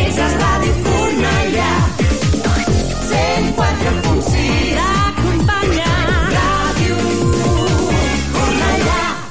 Esa Radio Cornellà 104.6 acompanya Radio Cornellà.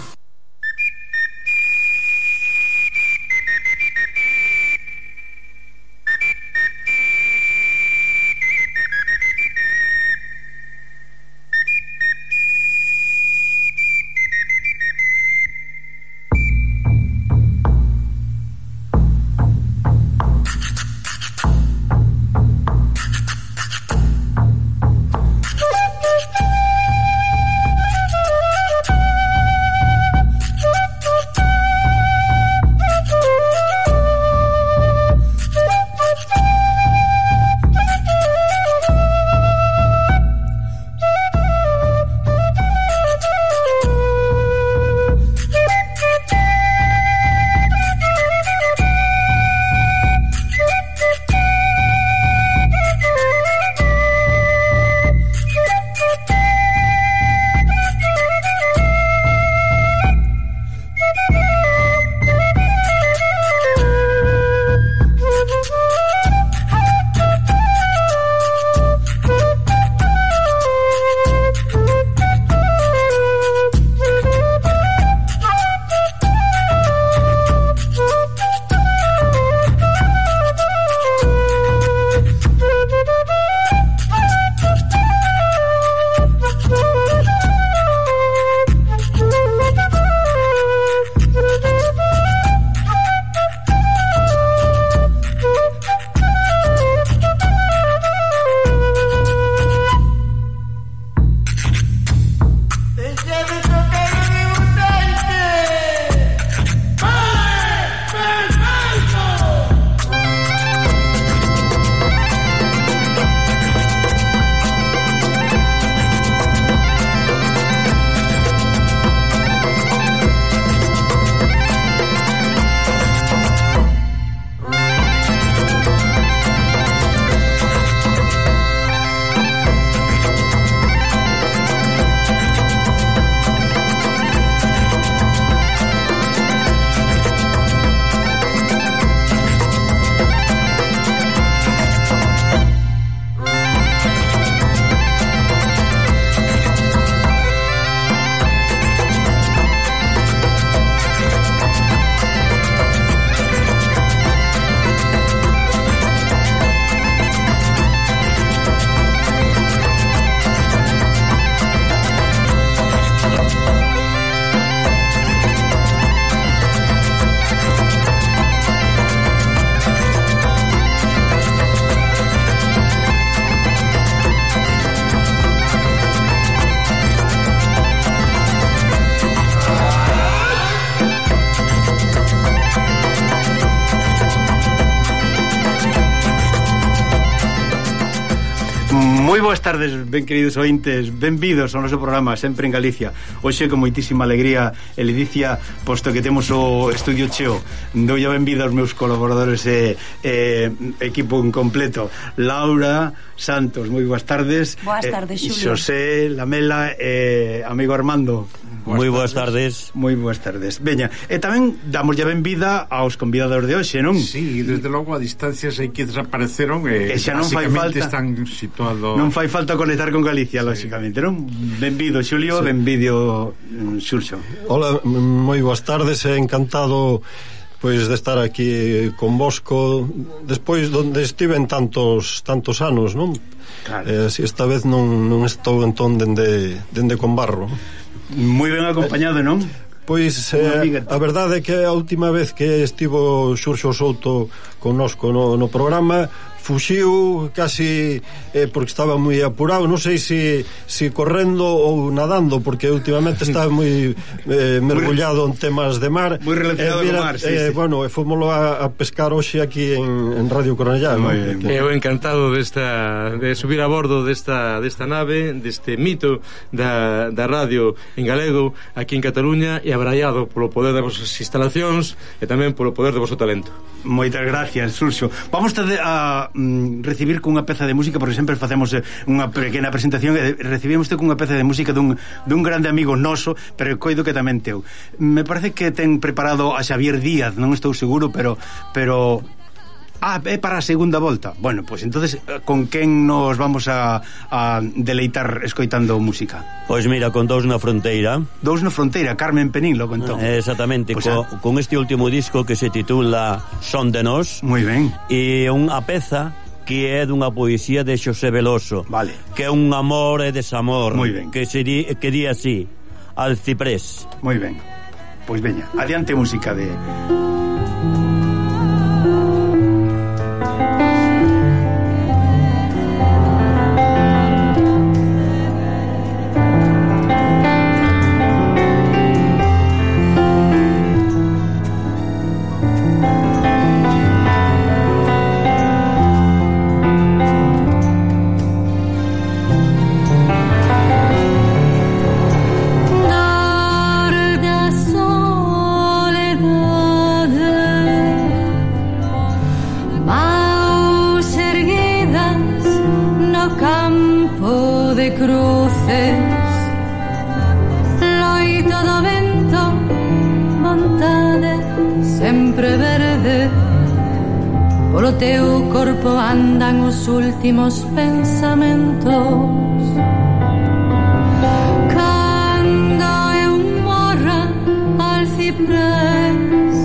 Moi boas tardes, ben queridos ointes, benvidos ao noso programa Sempre en Galicia. Hoxe con moitísima alegría e ledicia, posto que temos o estudio cheo. Doulle a benvida aos meus colaboradores e equipo en completo. Laura Santos, moi boas tardes. Boas tardes, Xulio. Xosé Lamela e amigo Armando. Moi boas tardes. Moi boas tardes. Veña, e tamén damos ya benvida aos convidados de hoxe, non? Sí, desde logo a distancias hai que desapareceron e xa non fai falta, están situados. Non fai falta conectar con Galicia, sí. Lógicamente, non? Benvido, Xulio, sí. Benvido, Xurxo. Hola, moi boas tardes, encantado pois de estar aquí convosco despois donde estiven tantos anos, non? Claro. Si esta vez non estou entón dende Conbarro. Moi ben acompañado, non? Pois a verdade é que a última vez que estivo Xurxo Souto connosco no programa fuxiu casi porque estaba moi apurado, non sei se correndo ou nadando, porque últimamente está moi mergullado en temas de mar, moi relacionado con mar, sí. Bueno, fomoslo a pescar hoxe aquí en Radio Cornellá. Eu encantado de subir a bordo desta nave, deste mito da radio en galego aquí en Cataluña, e abraiado polo poder das vosas instalacións e tamén polo poder do vosso talento. Moitas gracias, Xurxo. Vamos a recibir cunha peza de música, porque sempre facemos unha pequena presentación e recibimos cunha peza de música dun grande amigo noso, pero coido que tamén teu. Me parece que ten preparado a Xavier Díaz, non estou seguro, pero É para a segunda volta. Bueno, pois entonces con quen nos vamos a deleitar escoitando música? Pois mira, con Dous na Fronteira. Dous na Fronteira, Carmen Penín, logo entón. Exactamente, pues con este último disco que se titula Son de Nós. Moi ben. E unha peza que é dunha poesía de Xosé Veloso. Vale. Que é un amor e desamor. Moi ben. Que di así, Al ciprés. Moi ben. Pois veña, adiante música de... Polo teu corpo andan os últimos pensamentos. Cando eu morra al ciprés,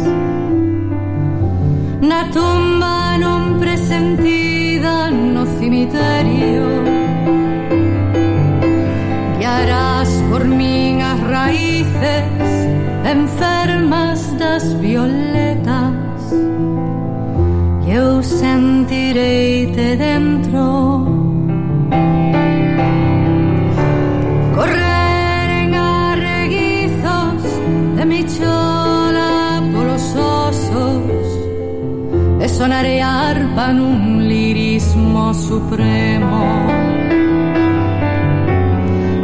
na tumba non presentida no cemiterio, guiarás por min as raíces enfermas das violetas. Eu sentirei-te dentro, correr en arreguizos de mi chola polos osos e sonarei a arpa nun lirismo supremo,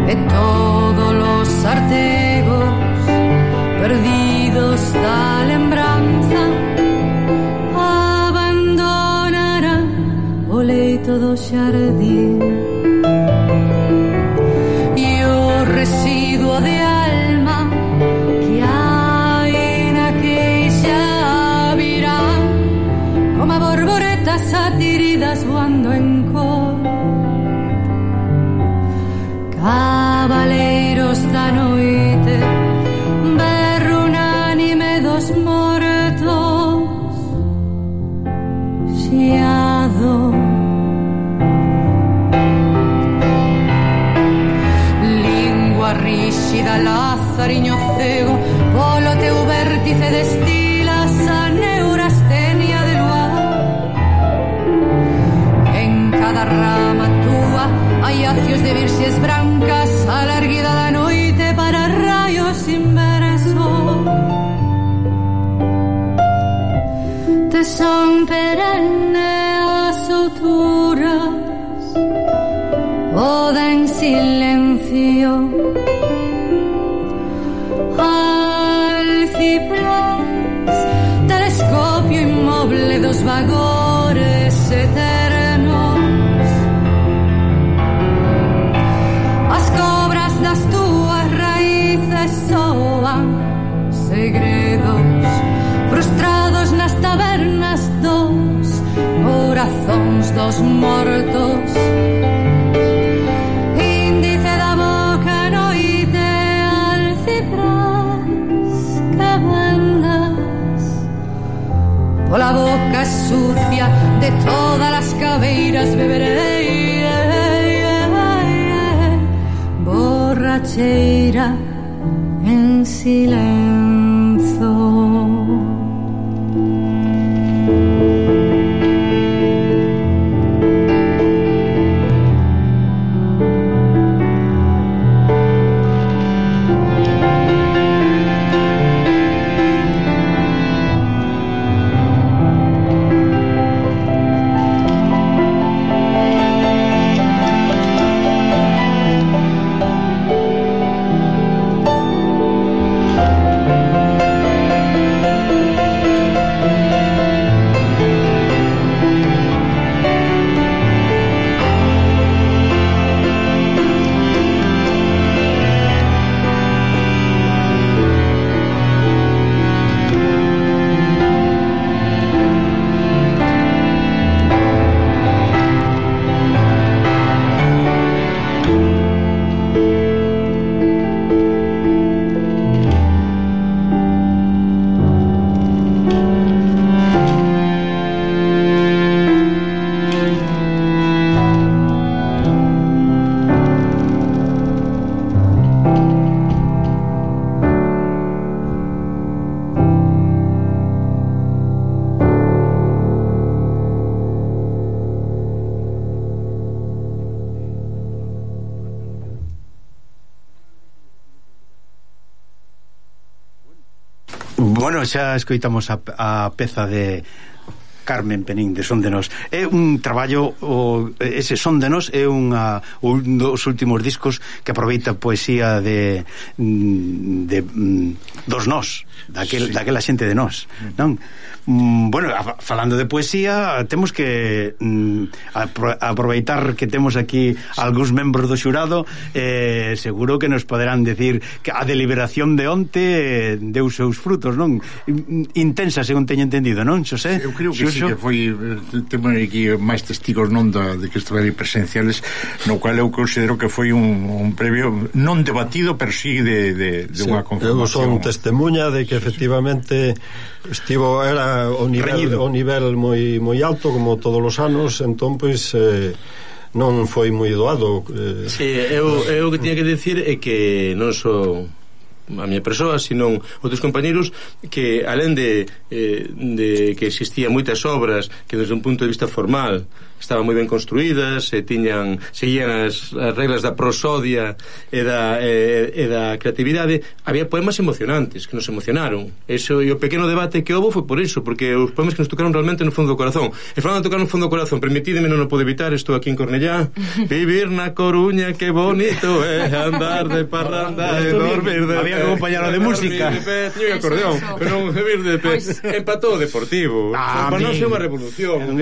e todos los artegos perdidos da lembranza o leito do xardín, e o residuo de alma que hai na queixa virá como borboretas atiridas voando en cor. Cabaleiros da noite, berro unánime dos mortos, xiado. Ríxida, lazariño cego, polo teu vértice destilas a neurastenia de luar. En cada rama túa hai acios de virxes brancas, a larguida da noite para raios inversos. Te son perenne as outuras, oda en silencio. Al ciprés, telescopio inmoble dos vagores eternos. As cobras das túas raíces soan segredos frustrados nas tabernas dos corazóns dos mortos. Índice da boca noite al ciprés que vendas, pola boca sucia de todas as caveiras beberei, borracheira en silencio. Bueno, xa escoitamos a peza de Carmen Penín de Son de Nós. É un traballo, ese Son de Nós é un dos últimos discos que aproveita poesía dos nós, daquela xente de nós, non? Bueno, falando de poesía, temos que aproveitar que temos aquí algúns membros do xurado, seguro que nos poderán decir que a deliberación de onte deu seus frutos, non? Intensa, según teño entendido, non, Xosé? Eu creo que sí, que foi, temos aquí máis testigos non de que estiveron presenciales, no cual eu considero que foi un previo non debatido, pero sí de unha conformación. Eu son testemunha de que efectivamente era o nivel moi alto, como todos os anos, entón pois non foi moi doado. Sí, eu que tiña que decir é que non só a miña persoa, sino outros compañeros que, alén de que existían moitas obras que desde un punto de vista formal estaban moi ben construídas e seguían as reglas da prosodia e da creatividade, había poemas emocionantes que nos emocionaron. Eso, e o pequeno debate que houve foi por iso, porque os poemas que nos tocaron realmente no fondo do corazón. E falando de tocar no fondo do corazón, permitídeme, non o podo evitar, estou aquí en Cornellá, vivir na Coruña, que bonito é andar de parranda e dormir de pé. Había que acompañarlo de música. Teño acordeo, pero non vivir de pé. Empatou o Deportivo. Para nós é unha revolución.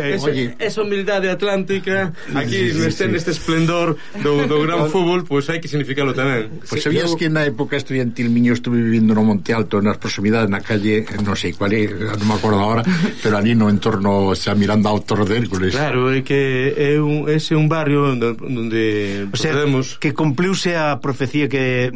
Esa humildade atlántica aquí neste esplendor do gran fútbol, pois hai que significalo tamén. Pois sabías que na época estudiantil miño estuve vivindo no Monte Alto, nas proximidades, na calle, non sei cual é, non me acordo agora, pero ali no entorno, xa mirando a Autor de Hércules. Claro, é que ese é un barrio onde procedemos. Que cumpliuse a profecía que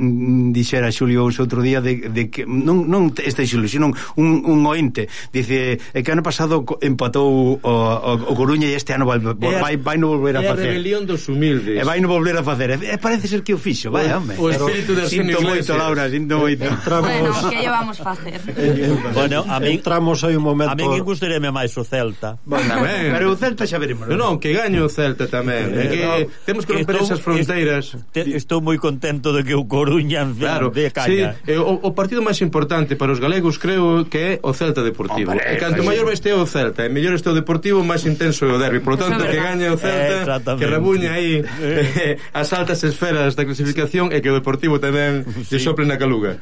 dixera Xulio outro día de que non este Xulio, sino un ointe, dice que ano pasado empatou o Coruña e este ano vai no volver a facer. É a rebelión dos humildes. E vai no volver a facer. Parece ser que o fixo, vai, home. O espírito de Arsenio Iglesias. Sinto moito, Laura, sinto moito. Bueno, que llevamos facer? Bueno, a min entramos aí un momento. A min gustaríame máis o Celta. Tamén. Pero o Celta xa veremos. Non, que gaño o Celta tamén. Que temos que romper esas fronteiras. Estou moi contento de que o Coruña de caña. Sí, o partido máis importante para os galegos creo que é o Celta Deportivo. E canto maior vai este o Celta, e mellor este o Deportivo, máis intenso é o derbi. Por tanto, que gañe o Celta, que rebuña aí as altas esferas da clasificación e que o Deportivo tamén lle sople na caluga.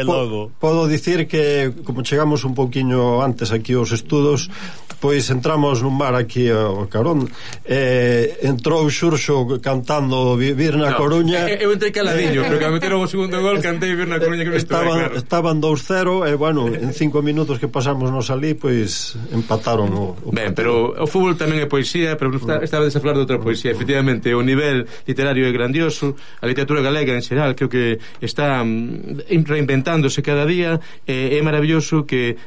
Logo podo dicir que como chegamos un pouquiño antes aquí aos estudos, pois entramos nun bar aquí ao Carón, entrou Xurxo cantando Vivir na Coruña. Eu entrei caladiño, pero que a meteron o segundo gol cantei Vivir na Coruña, que estaban 2-0 e bueno, en 5 minutos que pasamos nos ali, pois empataron o ben, pero o fútbol tamén é poesía, pero estaba a falar de outra poesía. Efectivamente, o nivel literario é grandioso, a literatura galega en xeral creo que está reinventándose cada día, é maravilloso que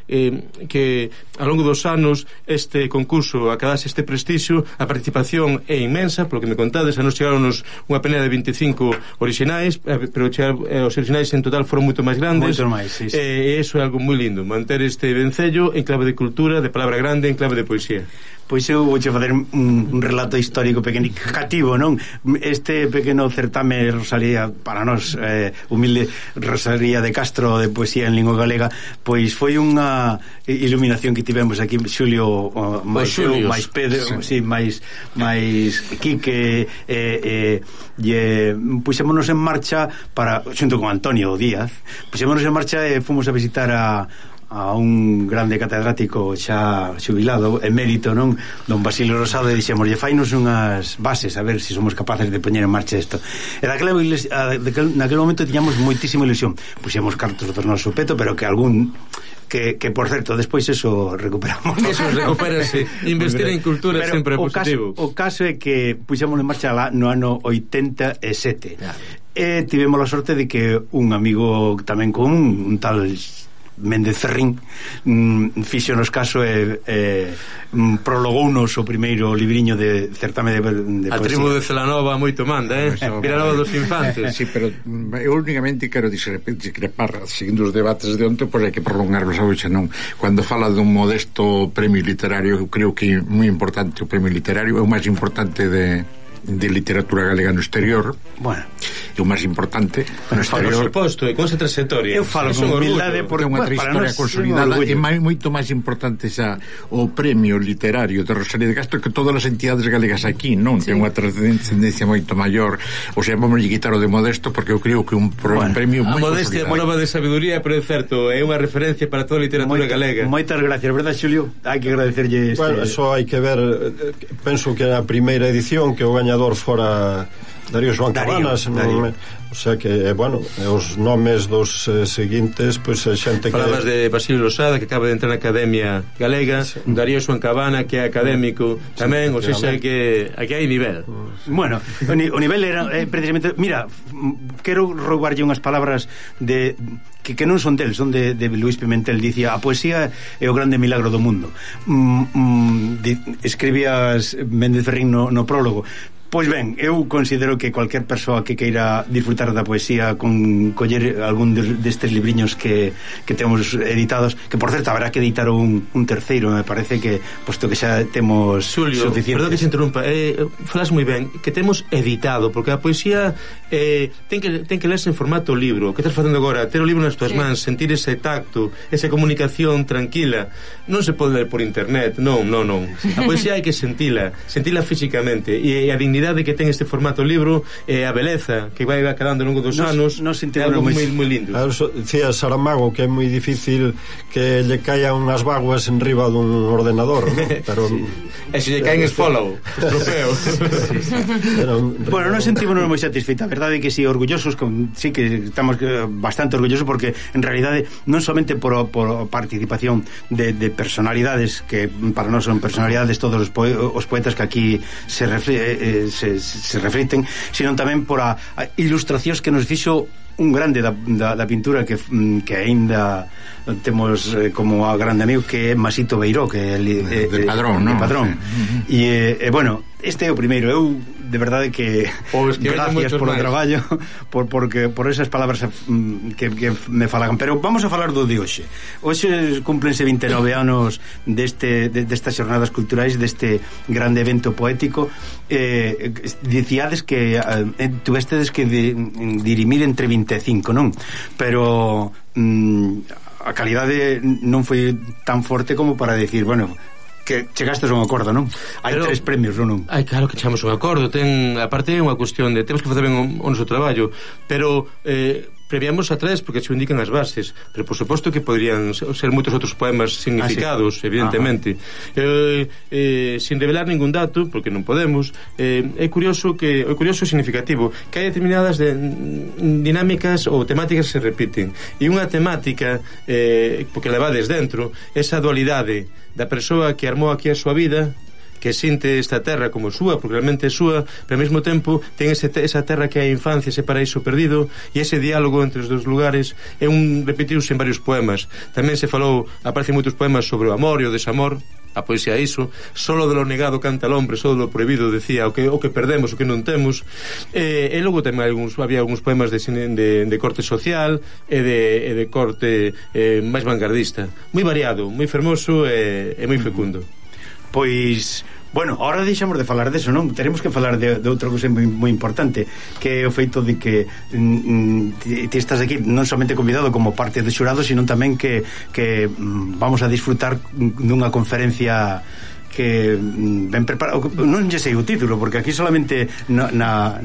ao longo dos anos este concurso acadase este prestixio, a participación é inmensa, polo que me contades, a nos chegaronos unha penea de 25 orixinais, pero os orixinais en total foron moito máis grandes, sí. E iso é algo moi lindo, manter este vencello en clave de cultura, de palabra grande, en clave de poesía. Pois eu vouche facer un relato histórico pequenicativo, non? Este pequeno certame Rosalía, para nós, humilde Rosalía de Castro de poesía en lingua galega, pois foi unha iluminación que tivemos aquí Xulio, máis Pedro, sí, máis Quique, puxémonos en marcha xunto con Antonio Díaz, puxémonos en marcha e fomos a visitar a un grande catedrático xa xubilado, emérito, non? Don Basilio Rosado, e dixémoslle, fainos unhas bases a ver se somos capaces de poñer en marcha isto. E naquele momento tiñamos moitísima ilusión. Puxemos cartos do noso peto, pero que algún que por certo, despois eso recuperamos. Eso recupérase. Investir en cultura pero sempre é positivo. O caso é que puxemos en marcha lá no ano 87. E tivemos a sorte de que un amigo tamén común, un tal Méndez Ferrín, fixo nos caso e prologounos o primeiro libriño de certame de poesía. A tribu de Celanova moito manda, Vilanova dos Infantes. Sí, pero eu únicamente quero discrepar seguindo os debates de onte, pois hai que prolongarlos a hoxe, non? Cando fala dun modesto premio literario, eu creo que é moi importante o premio literario, é o máis importante de literatura galega no exterior. Bueno, e o máis importante no exterior. Por suposto, e con esa trayectoria. Eu falo con humildade porque unha trayectoria consolidada e moito máis importante xa o premio literario de Rosalía de Castro, que todas as entidades galegas aquí non ten unha trascendencia moito maior. O sea, vamos a quitar o de Modesto, porque eu creo que un premio moi consolidado. A modestia é prova de sabiduría, pero é certo, é unha referencia para toda a literatura galega. Moitas gracias, verdad, Xulio? Hai que agradecerlle Bueno, eso hai que ver. Penso que na primeira edición que o gañador fora Darío Joan Cabanas, o sea que, bueno, os nomes dos seguintes, pois a xente que... Falabas de Basilio Losada, que acaba de entrar na Academia Galega, Darío Joan Cabana, que é académico tamén, o sea que aquí hai nivel. Bueno, o nivel era precisamente... Mira, quero roubarlle unhas palabras de... que non son del, son de Luis Pimentel. Dicía, a poesía é o grande milagro do mundo. Escribías Méndez Ferrín no prólogo. Pois ben, eu considero que cualquier persoa que queira disfrutar da poesía con coller algún destes libriños que temos editados, que por certo habrá que editar un terceiro, me parece que posto que xa temos Xulio, suficientes. Perdón que se interrumpa, falas moi ben que temos editado, porque a poesía ten que lerse en formato libro. O que estás facendo agora, ter o libro nas tuas mans, sentir ese tacto, esa comunicación tranquila, non se pode ler por internet, non. A poesía hai que sentila físicamente, e a dignidade que ten este formato libro, a beleza que vai calando ao longo dos anos, é algo moi lindo. Dicía Saramago que é moi difícil que lle caian unhas vaguas en riba dun ordenador, ¿no? Pero e se lle caen es follow, trofeo. Bueno, nos sentimos moi satisfeitos, a verdade é que si orgullosos, sí que estamos bastante orgullosos, porque en realidade non somente por participación de personalidades que para nós son personalidades, todos os poetas que aquí se refliten, sino tamén por a ilustracións que nos fixo un grande da pintura que aínda temos como a grande amigo, que é Masito Beiró, que é de Padrón, non? E bueno, este é o primeiro. Eu de verdade que gracias polo traballo, por esas palabras que me falagan. Pero vamos a falar do de hoxe. Hoxe cúmplense 29 anos destas xornadas culturais, deste grande evento poético. Dicíades que tuvestedes que dirimir entre 25, non? Pero a calidade non foi tan forte como para decir, bueno, que chegastes a un acordo, non? Hai 3 premios, non? Ai, claro que chegamos a un acordo. Aparte é unha cuestión de temos que facer ben o noso traballo, pero previamos a 3 porque se indican as bases, pero por suposto que podrían ser moitos outros poemas significados, evidentemente. Sin revelar ningún dato, porque non podemos, é curioso e significativo que hai determinadas dinámicas ou temáticas que se repiten, e unha temática porque levades dentro esa dualidade da persoa que armou aquí a súa vida, que sinte esta terra como súa, porque realmente é súa, pero ao mesmo tempo ten esa terra que é a infancia, ese paraíso perdido, e ese diálogo entre os dos lugares é repetiuse en varios poemas. Tamén se falou, aparecen moitos poemas sobre o amor e o desamor. A poesía é iso, solo de lo negado canta el hombre, solo de lo prohibido decía o que perdemos, o que non temos. E logo tamén había algúns poemas de corte social e de corte máis vanguardista, moi variado, moi fermoso e moi fecundo. Pois, bueno, ahora deixamos de falar deso, non? Teremos que falar de outra cousa moi importante, que é o feito de que ti estás aquí non somente convidado como parte do xurado, sino tamén que vamos a disfrutar dunha conferencia que ben preparado. Non lle sei o título, porque aquí solamente na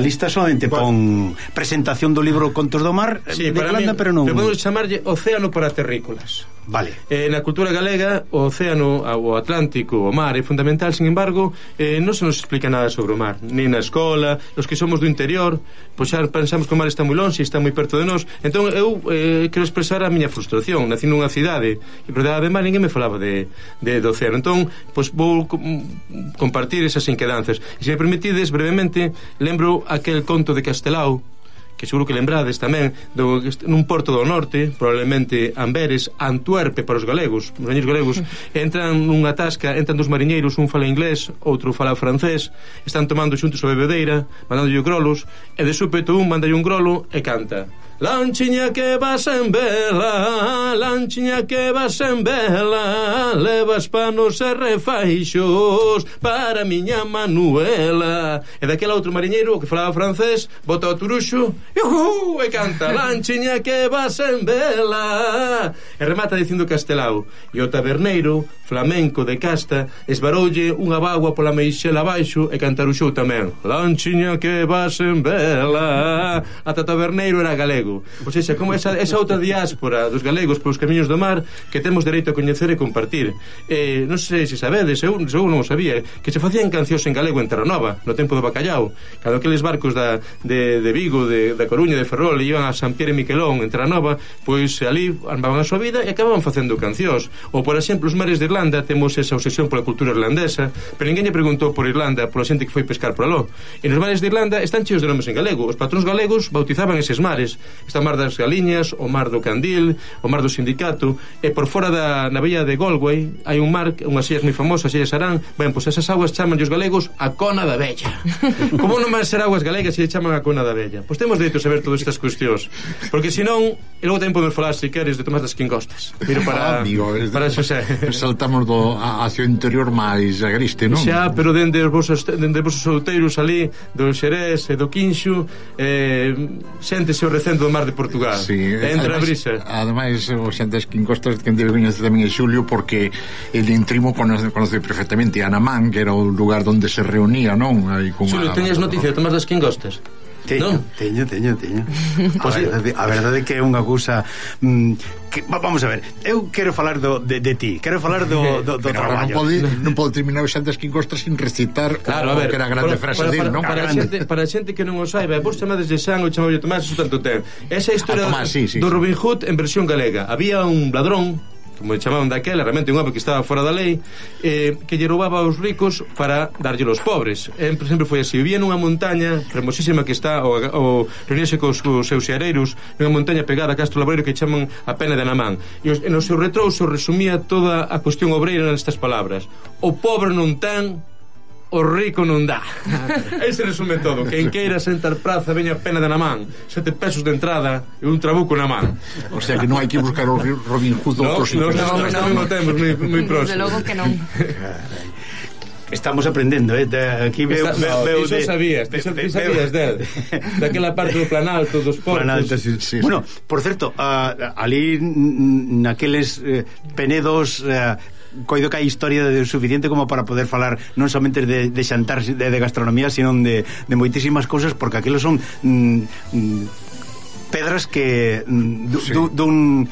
lista solamente pon presentación do libro Contos do Mar, sí, de Calanda, pero non. Podemos chamarlle Océano para Terrícolas. Vale. Na cultura galega o océano, o Atlántico, o mar é fundamental. Sin embargo, non se nos explica nada sobre o mar, nin na escola. Os que somos do interior, pois xa pensamos que o mar está moi longe, está moi perto de nós. Entón eu quero expresar a miña frustración. Nací nunha cidade e por de mar ninguén me falaba do océano. Entón, pois vou compartir esas inquedanzas. E se me permitides brevemente, lembro aquel conto de Castelao, que seguro que lembrades tamén, nun porto do norte, probablemente Amberes, Antuerpe para os galegos, os mariñeiros galegos, entran nunha tasca, entran dos mariñeiros, un fala inglés, outro fala francés, están tomando xuntos a bebedeira, mandándolle grolos, e de súpeto un mandalle un grolo e canta: Lanchiña que vas en vela, lanchiña que vas en vela, levas panos e refaixos para a miña Manuela. E daquela outro mariñeiro que falaba francés bota o turuxo e canta lanchiña que vas en vela e remata dicindo castelao. E o taberneiro, flamenco de casta, esbaroulle unha bagua pola meixela abaixo e cantaruxou tamén lanchiña que vas en vela. Ata taberneiro era galego. Ou seja, como esa outra diáspora dos galegos polos camiños do mar que temos dereito a coñecer e compartir. Non sei se sabedes, eu non o sabía, que se facían cancións en galego en Terranova no tempo do bacallao, cando aqueles barcos de Vigo, da Coruña, de Ferrol iban a San Pierre e Miquelón en Terranova, pois ali armaban a súa vida e acababan facendo cancións. Ou por exemplo, os mares de Irlanda, temos esa obsesión pola cultura irlandesa, pero ninguén lle preguntou por Irlanda pola xente que foi pescar por aló. E nos mares de Irlanda están cheos de nomes en galego. Os patróns galegos bautizaban eses mares. Está o mar das Galiñas, o mar do Candil, o mar do Sindicato, e por fora na vella de Galway hai un mar, unhas illas moi famosas, illas Arán. Ben, pois esas aguas chaman os galegos a Cona da Vella. Como non van ser aguas galegas se lle chaman a Cona da Vella? Pois temos dereito a saber todas estas cuestións, porque senón, e logo tamén podemos falar, se queres, de Tomás das Quingostas. Miro para Xosé. Saltamos hacia o interior máis agreste, non? Xa, pero dende os vosos outeiros ali do Xerés e do Quinxo, séntese o recendo do mar de Portugal. Sí, entra a brisa. Ademais, o xente das Quingostas que debe coñecer tamén é Xulio, porque el intrimo conoce perfectamente Anamán, que era o lugar onde se reunía, non? Xulio, teñes noticia de Tomás das Quingostas? Teño. A verdade é que é unha cousa vamos a ver, eu quero falar de ti, quero falar do traballo. Non pode terminar o Xantas Quingostas sin recitar que era a grande frase dele, non? Para a xente que non o saiba, vos chamades de Xan, o chamou Tomás, eso tanto ten. Esa historia do Robin Hood en versión galega. Había un ladrón, como chamaban daquela, realmente un homem que estaba fora da lei, que lle roubaba aos ricos para darlle aos pobres. Por exemplo, foi así: vivía nunha montaña fermosísima que está o reunirse cos seus xeareiros nunha montaña pegada a Castro Laboreiro que chaman a Pena de Anamán, e no seu retrouso resumía toda a cuestión obreira nestas palabras: o pobre non ten, o rico non dá. Ese resume todo. Quen queira sentar praza veña a Pena de Anamán, 7 pesos de entrada e un trabuco na man. O sea que non hai que buscar o Robin Hood outro sitio. Non temos moi próximo. Desde logo que non. Estamos aprendendo, aquí veo iso sabías daquela parte do Planalto, dos portos. Sí. Bueno, por certo, ali naqueles penedos coido que hai historia suficiente como para poder falar non somente de xantar de gastronomía, sino de moitísimas cousas, porque aqueles son pedras que dun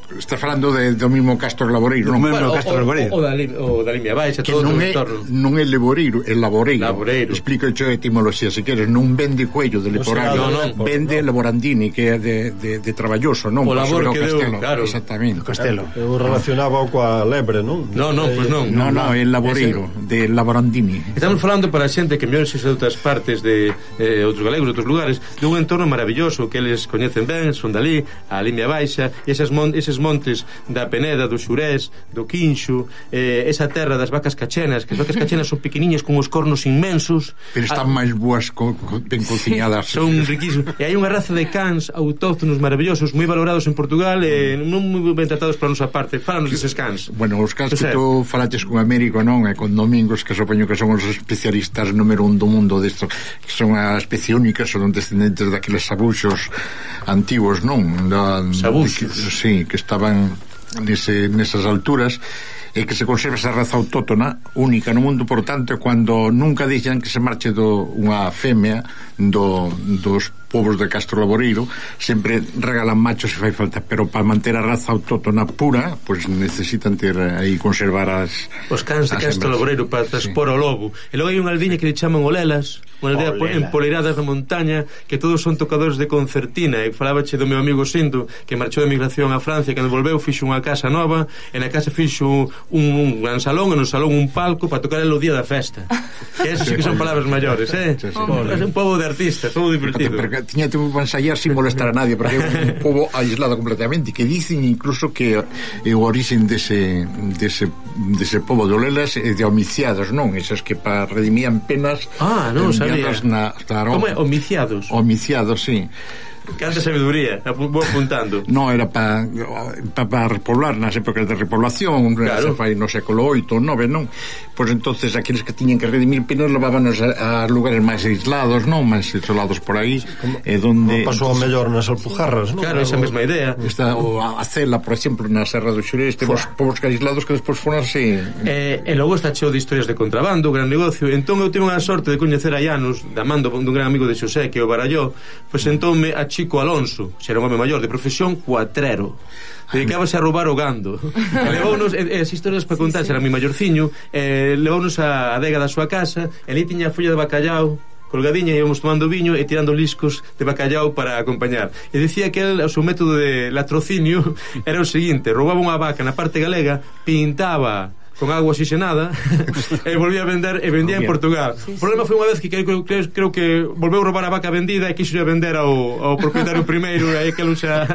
está falando do mismo Castro Laboreiro, non? Bueno, o da Limia Baixa, todo o entorno. Non é Laboreiro, é Laboreiro. Explico a etimoloxía, se queres. Non vende Cuello de Leporano, vende Laborandini, que é de Traballoso, non? O labor que deu, claro. Exactamente. Castelo. Eu relacionaba coa lebre, non? Non, pois non. Non, é Laboreiro, de Laborandini. Estamos falando para a xente que mellor se de outras partes de outros galegos, de outros lugares, dun entorno maravilloso que eles coñecen ben, son dali, a Limia Baixa, e eses montes da Peneda, do Xurés, do Quinxo, esa terra das vacas cachenas, que as vacas cachenas son pequeniñas con os cornos inmensos, pero están máis boas ben cociñadas. Son riquísimos. E hai unha raza de cans autóctonos maravillosos, moi valorados en Portugal e non moi ben tratados para a nosa parte. Fálanos deses cans. Bueno, os cans que tú falaches con Américo, non? E con Domingos, que supoño que son os especialistas número 1 do mundo desto, que son a especie única, son descendentes daqueles sabuxos antigos, non? Sabuxos. Sí, que estaban nesas alturas, e que se conserva esa raza autóctona única no mundo. Por tanto, cando nunca deixan que se marche unha femia dos povos de Castro Laboreiro, sempre regalan machos se fai falta, pero para manter a raza autóctona pura, pois necesitan ter aí conservar os cans de Castro Laboreiro para transpor o lobo. E logo hai unha aldiña que le chaman Olelas, unha aldea empoleirada da montaña, que todos son tocadores de concertina. E falábache do meu amigo Sinto, que marchou de emigración a Francia, que cando volveu fixo unha casa nova, e na casa fixo un gran salón, e no salón un palco para tocar o día da festa. Que eso sí que son palabras maiores, É un pobo de artistas, todo divertido. Tiña que ensayar sin molestar a nadie, porque é un pobo aislado completamente, que dicen incluso que o orixen dese pobo de Olelas é de homiciados, non? Esas que para redimían penas non sabía. Como é? Homiciados? Homiciados, sí. Canta sabiduría, vou apuntando. No, era para repoblar nas épocas de repoblación, claro. Se fai no século 8 ou 9, non? Pois entonces aqueles que tiñan que redimir penas levábanos a lugares máis aislados, non? Máis isolados por aí, donde pasou a mellor nas Alpujarras, non? Claro, esa mesma idea. Está a Cela, por exemplo, na Serra do Xurés, temos povos aislados que despois foron así. E logo está cheo de historias de contrabando, gran negocio. Entón eu tive a sorte de coñecer a Llanos, da mando dun gran amigo de Xosé, que é o Baralló. Pois entónme a Chico Alonso, xera un home maior, de profesión cuatrero. Dedicábase a roubar o gando. Levounos as historias para contar, era mi maiorciño, levounos a adega da súa casa, e ali tiña a folla de bacallau colgadiña, e íbamos tomando viño e tirando liscos de bacallau para acompañar. E dicía que o seu método de latrocinio era o seguinte: roubaba unha vaca na parte galega, pintaba con agua oxigenada e volvía a vender e vendía en Portugal. O problema foi unha vez que creo que volveu a roubar a vaca vendida e quixo vender ao propietario primeiro, e aí que lucha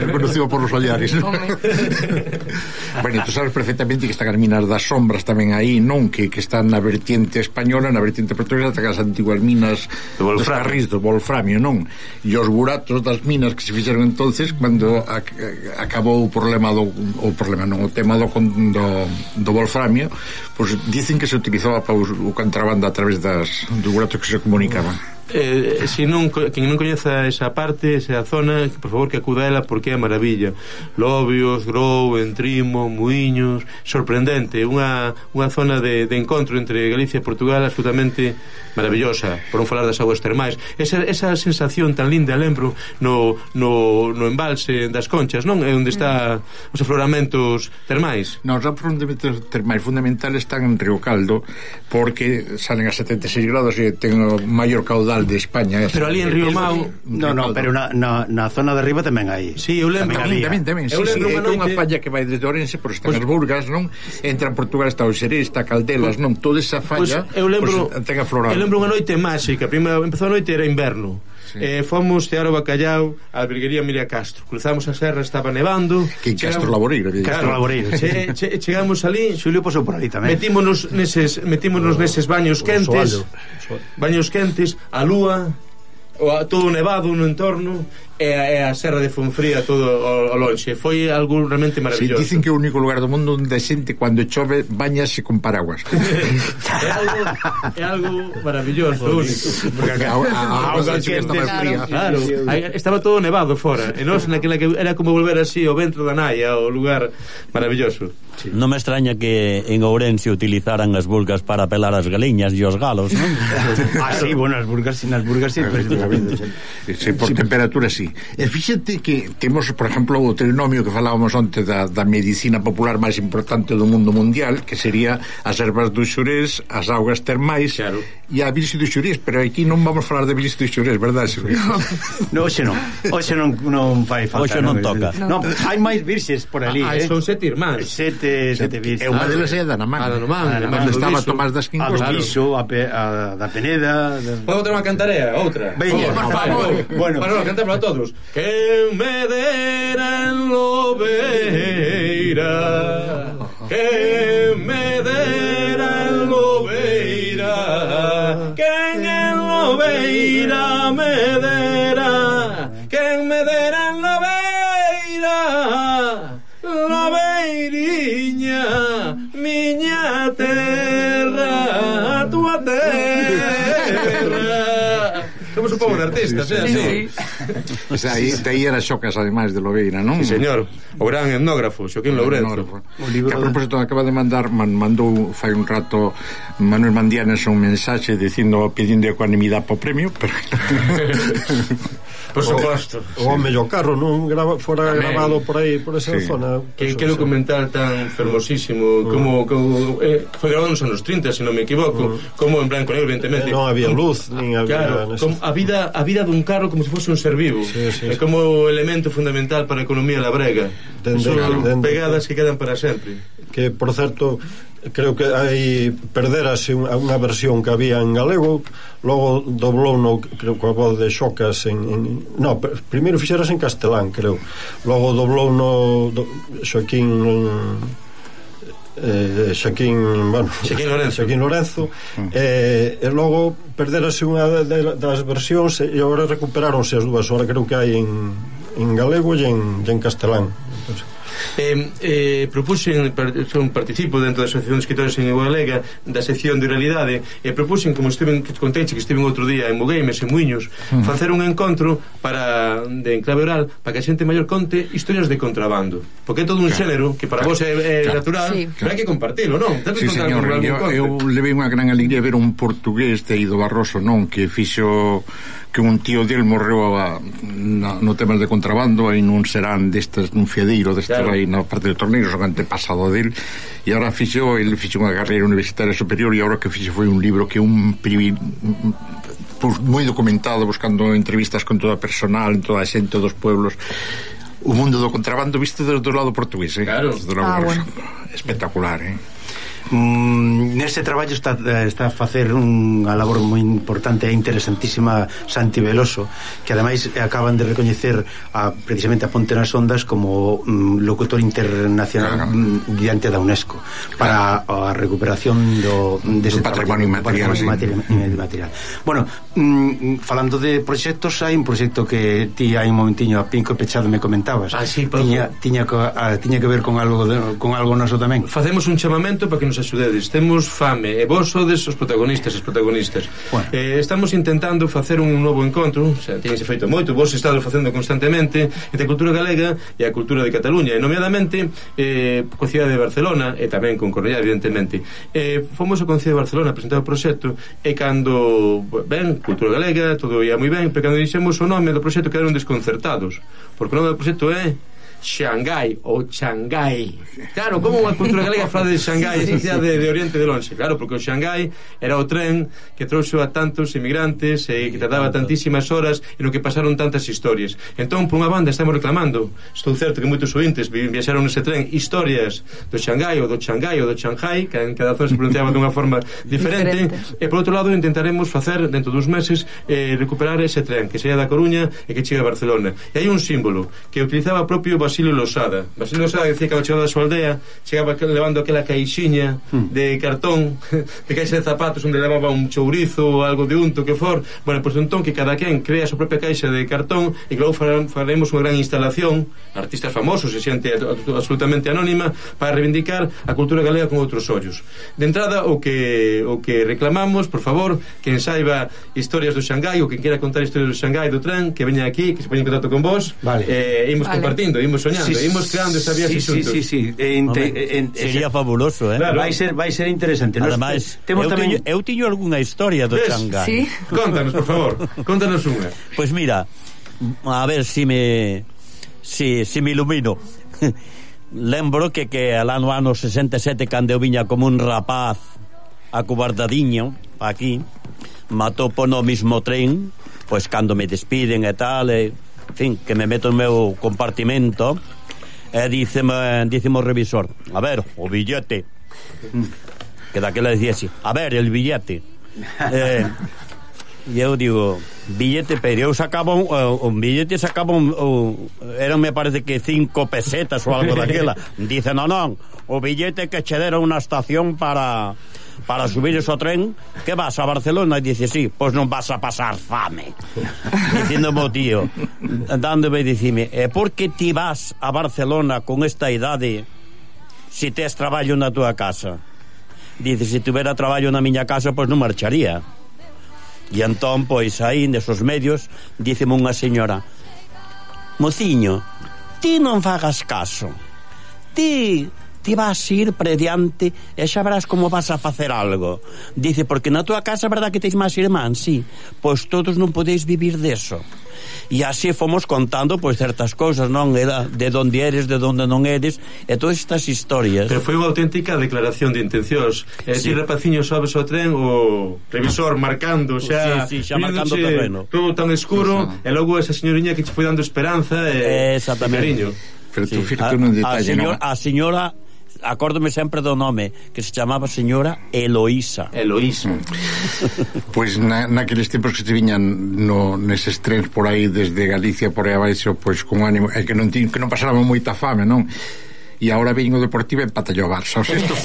reconocido por los Ollares. Bueno, tú sabes perfectamente que están as minas das sombras tamén aí, non? Que están na vertiente española, na vertiente portuguesa, as antiguas minas dos Carrís, do Wolframio, non? E os buratos das minas que se fixeron entonces cando acabou o tema do wolframio, pois dicen que se utilizaba para o contrabando a través dos buratos que se comunicaban. Se non, quen non coñeza esa parte, esa zona, por favor que acuda a ela, porque é maravilla. Lobios, Grou, Entrimo, Muiños, sorprendente, unha zona de encontro entre Galicia e Portugal absolutamente maravillosa, por non falar das aguas termais. Esa sensación tan linda, lembro, no embalse das Conchas, non? É onde está os afloramentos termais. Non, os afloramentos termais fundamentales están en Río Caldo, porque salen a 76 grados e ten o maior caudal de España. Pero ali en Río Mau pero na zona de arriba tamén hai. Sí, eu lembro tamén. Sí, é unha falla que vai desde Orense, por estas Burgas, non? Entra en Portugal, está o Xerés, está Caldelas, non? Toda esa falla, eu lembro, ten aflorado. Eu lembro unha noite máxica. Empezou a noite, era inverno. Fomos cear o bacallau á Virguería Miria Castro, cruzamos a serra, estaba nevando, que Castro Laboreiro, chegamos ali, Xulio pasou por ali tamén, metímonos neses baños quentes, a lúa, todo nevado no entorno, e a serra de Fonfría todo ao lonxe. Foi algo realmente maravilloso. Sí, dicen que é o único lugar do mundo onde a xente cando chove bañase con paraguas. É algo maravilloso, único. Porque a auga estaba fría. Claro, estaba todo nevado fora. E nós naquela que era como volver así ao ventro da naia, ao lugar maravilloso. Sí. Non me extraña que en Ourense utilizaran as burgas para pelar as galiñas e os galos, non? Sí, bueno, as burgas sí, sí, por temperatura sí. E fíxate que temos, por exemplo, o trinomio que falábamos onte da medicina popular máis importante do mundo mundial, que sería as ervas do Xurés, as augas termais, claro, e a virxe do Xurés, pero aquí non vamos falar de virxe do Xurés, verdad, Xurés? No, hoxe non fai falta. Hoxe non toca. No, hai máis virxes por ali, son 7 irmáns. Sete virxes. E unha delas é a da Namán. Onde estaba Tomás das Quincos. A do Viso, a da Peneda. Podo ter unha cantarea, outra. Veña, por favor. Bueno, para cantar para todos. Que me dera en Lobeira, que me dera en Lobeira, que en Lobeira me dera, que me dera en Lobeira, Lobeiriña, miña terra, tua terra. Somos un pouco de artistas, sí. O sea, aí era Xocas, ademais de Lobeira, non? Sí, señor. O gran etnógrafo, Xoaquín Lourenzo. Que a propósito acaba de mandou fai un rato Manuel Mandianes un mensaxe pedindo ecuanimidade po premio, pero por suposto. O mellor carro non fora grabado por aí, por esa zona. Que documental tan fermosísimo, como foi grabado nos anos 30, se non me equivoco, como en blanco negro, evidentemente. Non había luz, nin había... Claro, a vida dun carro como se fose un ser vivo. É como elemento fundamental para a economía labrega. Son pegadas que quedan para sempre. Que, por certo, creo que aí perderase unha versión que había en galego, logo doblou creo que a voz de Xocas primeiro fixeras en castelán, creo, logo doblou Xoaquín Xaquín Lorenzo e logo perderase unha das versións e agora recuperáronse as dúas, agora creo que hai en galego e en castelán. Participo dentro da Asociación de Escritores en Galega da sección de oralidade e propuxen, como conteiche que estiven outro día en Mogueimes, en Muiños, facer un encontro de enclave oral para que a xente maior conte historias de contrabando, porque é todo un xénero que para vos é natural, pero hai que compartilo, non? Sí, señor, eu levei unha gran alegría ver un portugués de Ido Barroso, non? Que fixo que un tío del morreu no tema de contrabando aí nun serán destes, nun fiadeiro destes aí na parte de Torneiros, o antepasado del, e agora fixo unha carreira universitaria superior e agora que fixo foi un libro que moi documentado, buscando entrevistas con toda a personal, toda a xente dos pueblos, o mundo do contrabando visto do lado portugués, claro. Bueno. Espectacular, Nese traballo está a facer unha labor moi importante e interesantísima Santi Veloso, que ademais acaban de recoñecer precisamente a Ponte nas Ondas como locutor internacional diante da UNESCO para a recuperación dese patrimonio inmaterial. Bueno, falando de proxectos, hai un proxecto que ti hai un momentiño a pinco pechado me comentabas. Tiña que ver con algo noso tamén. Facemos un chamamento para que nos axudedes, temos fame e vos sodes os protagonistas. Bueno. Estamos intentando facer un novo encontro, tense feito moito, vos estado facendo constantemente entre a cultura galega e a cultura de Cataluña, e nomeadamente coa cidade de Barcelona e tamén con Cornellá, evidentemente. Fomos ao Concello de Barcelona a presentar o proxecto e cando cultura galega, todo ia moi ben, pero cando dixemos o nome do proxecto quedaron desconcertados, porque o nome do proxecto é Xangai ou Xangai. Claro, como unha cultura galega fala de Xangai, esa cidade de Oriente de longe. Claro, porque o Xangai era o tren que trouxo a tantos inmigrantes e que tardaba tantísimas horas e no que pasaron tantas historias. Entón, por unha banda, estamos reclamando, estou certo que moitos ointes viaxaron nese tren, historias do Xangai ou do Xangai ou do Xangai, que en cada zona se pronunciaba dunha forma diferente. E por outro lado, intentaremos facer, dentro dos meses, recuperar ese tren que saía da Coruña e que chega a Barcelona. E hai un símbolo que utilizaba propio Basilio Losada, decía que ao chegar da súa aldea chegaba levando aquela caixinha de cartón, de caixa de zapatos onde levaba un chourizo ou algo de unto que for. Bueno, pois entón que cada quen crea a súa propia caixa de cartón e que logo faremos unha gran instalación, artistas famosos e xente absolutamente anónima, para reivindicar a cultura galega con outros ollos. De entrada, o que reclamamos, por favor, quen saiba historias do Xangai ou quen quera contar historias do Xangai, do tren, que veña aquí, que se poña en contacto con vos, imos compartindo, imos soñando, imos creando esa viaxe xuntos. Sería fabuloso, claro. Vai ser interesante. Ademais, eu tiño algunha historia do Xangai. Sí? Contanos, por favor, contanos unha. Pois mira, a ver si me ilumino. Lembro que lá no ano 67, cando eu viña como un rapaz acobardadiño aquí, matou po no mismo tren, pois cando me despiden e tal, en fin, que me meto no meu compartimento e díceme o revisor, a ver, o billete, que daquela decía así, a ver, el billete. E eu digo, billete, pero eu sacaba un billete, eran, me parece que 5 pesetas ou algo daquela. Dice, non, o billete que che deron unha estación para subir o tren, que vas a Barcelona? E dice, sí, pois non vas a pasar fame. Dicíndome o tío, dándome, dicime, por que ti vas a Barcelona con esta idade se tes traballo na tua casa? Dice, se tuvera traballo na miña casa, pois non marcharía. E entón, pois aí, nesos medios, díceme unha señora, mociño, ti non fagas caso, ti vas a ir prediante e xa verás como vas a facer algo. Dice, porque na tua casa, verdad que teis máis irmán? Sí, pois todos non podeis vivir deso. E así fomos contando pois certas cousas, non? Era de onde eres, de onde non eres, e todas estas historias. Pero foi unha auténtica declaración de intencións. E ti, rapaciño, sobes ao tren, o revisor marcando xa, xa marcando o terreno, todo tan escuro, e logo esa señoriña que che foi dando esperanza e cariño. Pero tú fíjate un detalle, a señora acórdome sempre do nome, que se chamaba señora Eloísa. Pois naqueles tempos que se viñan neses trens por aí desde Galicia por aí abaixo, pois con ánimo, e que non pasábamos moita fame, non? e agora veño o Deportivo e empatallou o Barça. Os tempos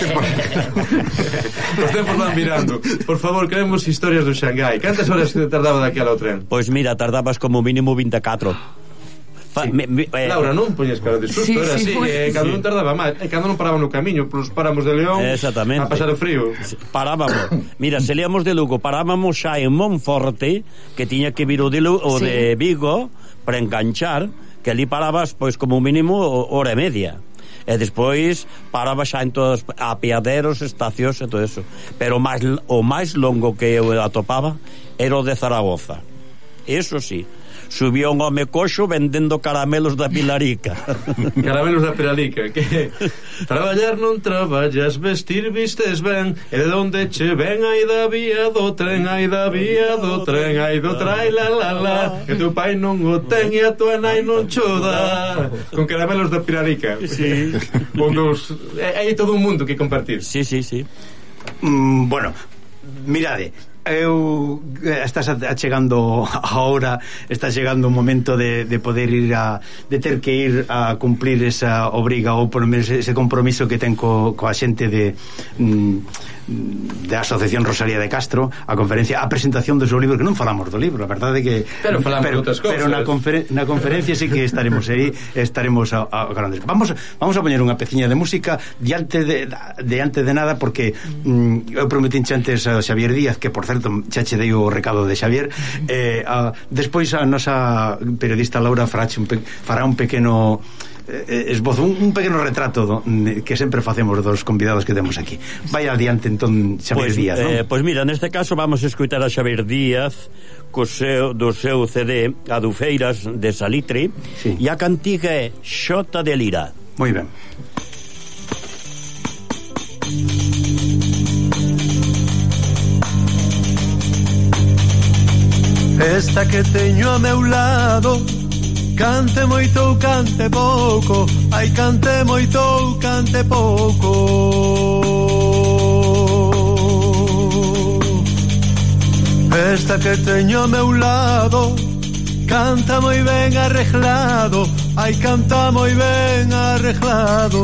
os tempos van mirando. Por favor, queremos historias do Xangai. Cantas horas te tardaba daquela o tren? Pois mira, tardabas como mínimo 24. Laura, non poñes cara de susto, era así, cando non tardaba máis, cando non paraba no camiño polos páramos de León a pasar o frío. Parábamos, mira, se leamos de Lugo, parábamos xa en Monforte, que tiña que vir o de Vigo para enganchar, que ali parabas pois como mínimo hora e media. E despois paraba xa en todos apeaderos, estacións e todo eso. Pero o máis longo que eu atopaba era o de Zaragoza. Eso sí, subía un home coxo vendendo caramelos da Pilarica. Caramelos da Pilarica, que traballar non traballas, vestir vistes ben, e de onde che ven ai da vía do tren, ai da vía do tren, ai do trai la la la, que tu pai non o ten e a tua nai non cho dá. Con caramelos da Pilarica. Sí. Hai todo un mundo que compartir. Sí. Bueno, mirade, estás achegando a hora, está chegando o momento de poder ir de ter que ir a cumplir esa obriga ou por menos ese compromiso que ten coa xente da Asociación Rosalía de Castro, a conferencia, a presentación do seu libro, que non falamos do libro, a verdade que pero falamos de outras cousas. Pero na conferencia sí que estaremos aí, estaremos a grandes. Vamos a poñer unha peciña de música diante de nada, porque eu prometí antes a Xavier Díaz, que por certo xa che dei o recado de Xavier, despois a nosa periodista Laura fará un pequeno esbozo, un pequeno retrato que sempre facemos dos convidados que temos aquí. Vai adiante entón Xavier Díaz, non? Pois mira, neste caso vamos a escutar a Xavier Díaz do seu CD Adufeiras de Salitre, e a cantiga é Xota de Lira. Moi ben. Esta que teño a meu lado, cante moito ou cante pouco, ai cante moito ou cante pouco. Esta que teño a meu lado, canta moi ben arreglado, ai canta moi ben arreglado.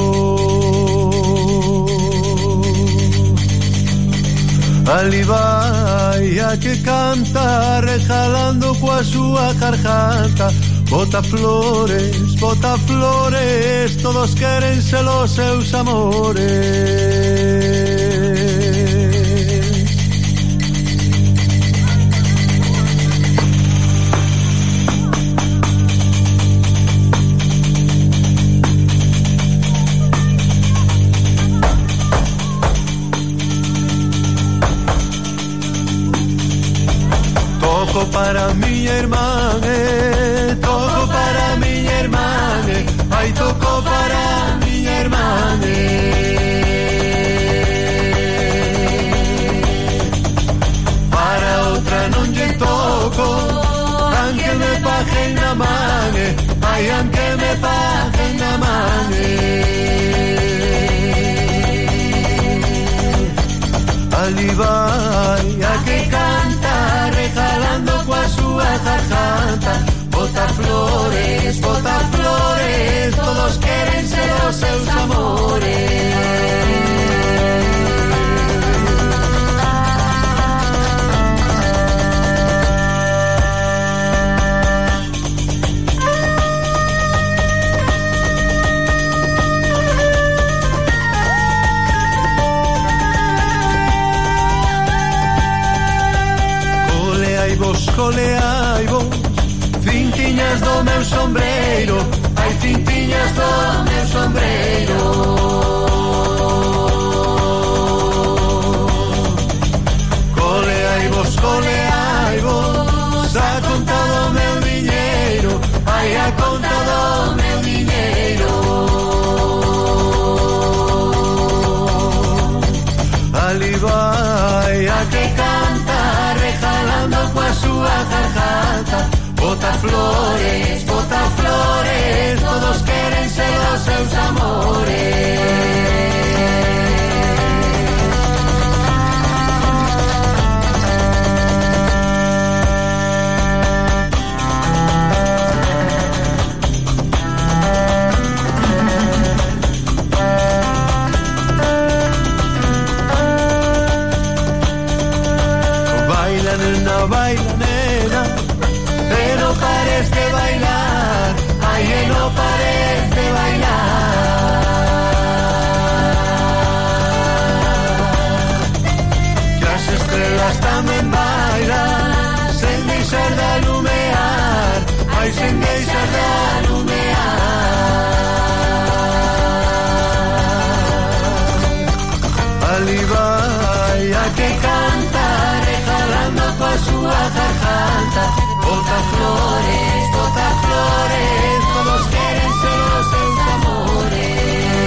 Ali vai a que canta rejalando coa súa garganta. Bota flores, todos queren ser os seus amores. Toco para miña irmán, toco para miña irmán, ai toco para miña irmán. Para outra non lle toco, aunque me pajen na man, ai aunque me pajen na man. Ali vai a que canta regalando coa súa garganta. Bota flores, todos queren ser os seus amores. Coleai vos, cintiñas do meu sombreiro, ai cintiñas do meu sombreiro. Coleai vos, a conta do meu diñeiro, ai a conta do meu diñeiro. Ali vai a que canta regalando coa súa garganta. Bota flores, todos queren ser os seus amores. baila nena, e no pares de bailar, ai, e no pares de bailar. Que as estrelas tamén bailan, sen deixar de alumear, ai, sen deixar de alumear. Ali vai a que cantar, e jalando coa súa garganta, bota flores